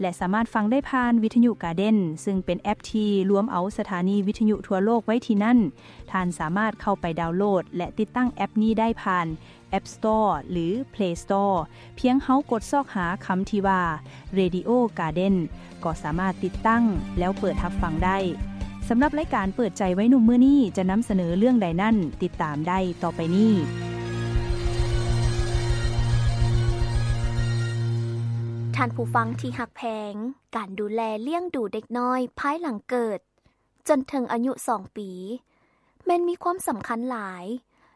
ແລະ ສາມາດຟັງໄດ້ຜ່ານວິທະຍຸກາເດັນ ຊຶ່ງເປັນແອັບທີ່ລວມເອົາສະຖານີວິທະຍຸທົ່ວໂລກໄວ້ທີ່ນັ້ນ. ທ່ານສາມາດເຂົ້າໄປດາວໂຫຼດ ແລະ ຕິດຕັ້ງແອັບນີ້ໄດ້ຜ່ານ App Store ຫຼື Play Store. ພຽງເຮົາກົດຊອກຫາຄຳທີ່ວ່າ Radio Garden ກໍສາມາດຕິດຕັ້ງແລ້ວເປີດຮັບຟັງໄດ້. ສຳລັບລາຍການເປີດໃຈໄວໜຸ່ມມື້ນີ້ຈະນຳສະເໜີເລື່ອງໃດນັ້ນ, ຕິດຕາມໄດ້ຕໍ່ໄປນີ້. ທ່ານຜູ້ຟັງທີ່ຮັກແພງ, ການດູແລລ້ຽງດູເດັກນ້ອຍພາຍຫຼັງເກີດ ຈົນເຖິງອາຍຸສອງປີ ແມ່ນມີຄວາມສຳຄັນຫຼາຍ,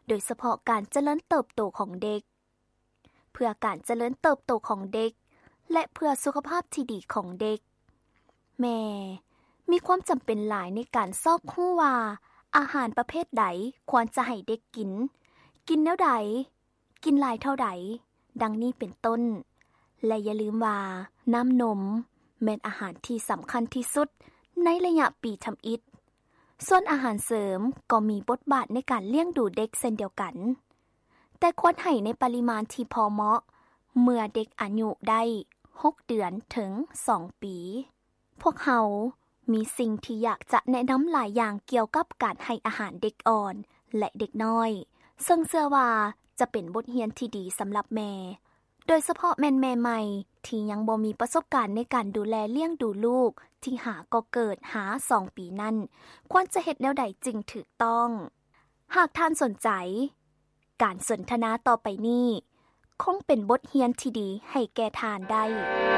ໂດຍສະເພາະການຈະເລີນເຕີບໂຕຂອງເດັກ. ເພື່ອການຈະເລີນເຕີບໂຕຂອງເດັກ ແລະ ເພື່ອສຸຂະພາບທີ່ດີຂອງເດັກ, ແມ່ມີຄວາມຈຳເປັນຫຼາຍໃນການຊອກຮູ້ວ່າ ອາຫານປະເພດໃດຄວນຈະໃຫ້ເດັກກິນ, ກິນແນວໃດ, ກິນຫຼາຍເທົ່າໃດ, ດັ່ງນີ້ເປັນຕົ້ນ. ແລະ ຢ່າລືມວ່າ ນ້ຳນົມແມ່ນອາຫານທີ່ສຳຄັນທີ່ສຸດໃນໄລຍະປີທຳອິດ. ສ່ວນອາຫານເສີມກໍມີບົດບາດໃນການລ້ຽງດູເດັກເຊັ່ນດຽວກັນ, ແຕ່ຄວນໃຫ້ໃນປະລິມານທີ່ພໍເໝາະ ເມື່ອເດັກອາຍຸໄດ້ຫົກເດືອນເຖິງສອງປີ. ພວກເຮົາມີສິ່ງທີ່ຢາກຈະແນະນຳຫຼາຍຢ່າງກ່ຽວກັບການໃຫ້ອາຫານເດັກອ່ອນ ແລະ ເດັກນ້ອຍ, ເຊິ່ງເຊື່ອວ່າຈະເປັນບົດຮຽນທີ່ດີສຳລັບແມ່, ໂດຍສະເພາະແມ່ນແມ່ໃໝ່ທີ່ຍັງບໍ່ມີປະສົບການໃນການດູແລລ້ຽງດູລູກທີ່ຫາກໍເກີດຫາສອງປີນັ້ນ, ຄວນຈະເຮັດແນວໃດຈຶ່ງຖືກຕ້ອງ? ຫາກທ່ານສົນໃຈ, ການສົນທະນາຕໍ່ໄປນີ້ຄົງເປັນບົດຮຽນທີ່ດີໃຫ້ແກ່ທ່ານໄດ້.